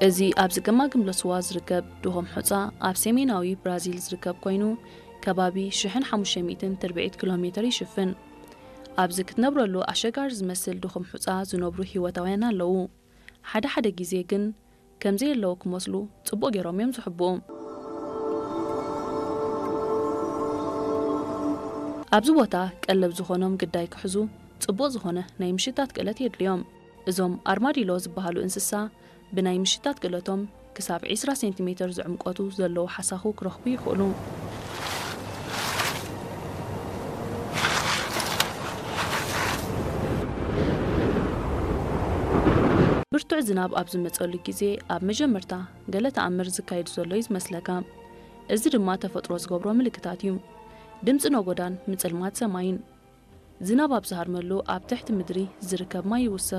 እዚ ኣብዚ ገማግም ሎስዋ ዝርከብ ድኹም ሑጻ ኣብ ሰሜናዊ ብራዚል ዝርከብ ኮይኑ፣ ከባቢ ሽሕን ሓሙሽተ ሚእትን ትርብዒት ኪሎ ሜተር ይሽፍን። ኣብዚ ክትነብረሉ ኣሸጋሪ ዝመስል ድኹም ሑጻ ዝነብሩ ህይወታውያን ኣለዉ። ሓደ ሓደ ግዜ ግን ከም ዘየለዉ ክመስሉ ጽቡቕ ገይሮም እዮም ዝሕብኡ። ኣብዚ ቦታ ቀለብ ዝኾኖም ግዳይ ክሕዙ ጽቡቕ ዝኾነ ናይ ምሽታት ክእለት የድልዮም። እዞም ኣርማዲሎ ዝበሃሉ እንስሳ ብናይ ምሽታት ክእለቶም ክሳብ ዒስራ ሴንቲሜተር ዝዕምቆቱ ዘለዉ ሓሳኹ ክረኽቡ ይኽእሉ። ብርቱዕ ዝናብ ኣብ ዝመጸሉ ግዜ ኣብ መጀመርታ ገለ ተኣምር ዝካየድ ዘሎ እዩ ዝመስለካ። እዚ ድማ ተፈጥሮ ዝገብሮ ምልክታት እዩ። ድምጺ ነጎዳን ምጽልማት ሰማይን። ዝናብ ኣብ ዝሃርመሉ ኣብ ትሕቲ ምድሪ ዝርከብ ማይ ይውስኽ።